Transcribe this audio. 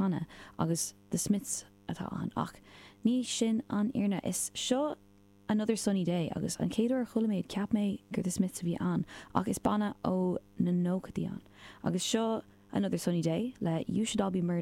chanadh agus The Smiths atá ann ach ní sin an fhírinne. Is seo Another Sunny Day agus an chéad uair a chuala mé iad cheap mé gur The Smiths a bhí ann ach is banna ó na nóchaidí ann. Agus seo Another Sunny Day le You Should All Be Murdered.